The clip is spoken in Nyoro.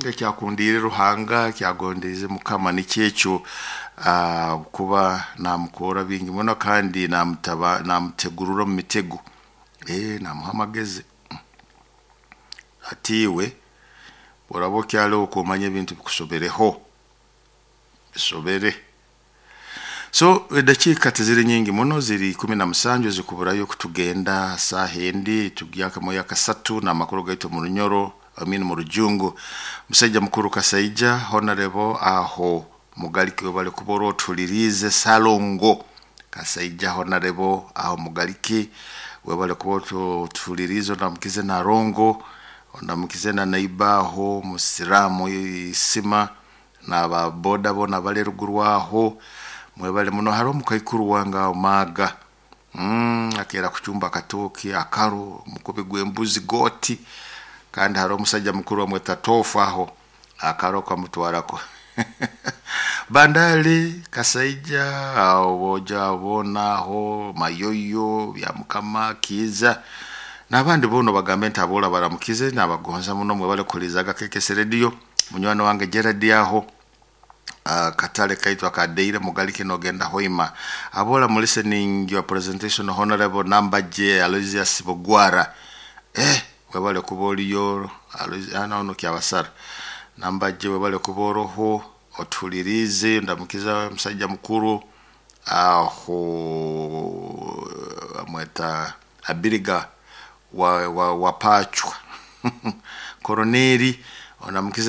Ekyakundiire Ruhanga, kyagondeize Mukama nikyo ekyo, kuba namukora bingi muno kandi namutaba namutegurura omu mitego, namuha amagezi ati iwe oraba okyaliho okumanya ebintu bikusobereho bisobere. So edakiika tiziri nyingi muno, ziri 17 zikuburayo kutugenda saaha endi tugyakamo yakasatu n'amakuru gaitu mu Runyoro, I mean mu Rujungu. Musaija mukuru Kasaija Honorable aho Mugaliki, webale kuba orotuliriize. Salongo Kasaija Honorable aho Mugaliki, webale kuba otuliriize. Ondamukize Narongo, ondamukize na naiba aho Musiramu Isima n'aba boda bona bali eruguru aho, mwebale muno. Hariho omukaikuru wange aho Maaga, akeera kucumba akatooke akaro omukubi gw'embuzi goti, kandi hariho omusajja mukuru bamweta Tofu aho akaro kamutwarako Bandali Kasaija aho boja boona aho Mayoyo Byamukama Kiiza n'abandi boona bagambe nti abola baramukize, nabagonza muno. Mwebale kuhulizaga KKS Radio. Munywani wange Gerard aho katale kaitu akadeire Mugaliki nogenda Hoima, abola mu listening your presentation, Honorable Nambaje Aloysius Bugwara. Webale kuba oliyo ono Kyabasara Nambaje, webale kuba oroho otulirize. Ndamukiza musajja mukuru aho amweta Abiriga wa Pachwa Koroneri, onamukize.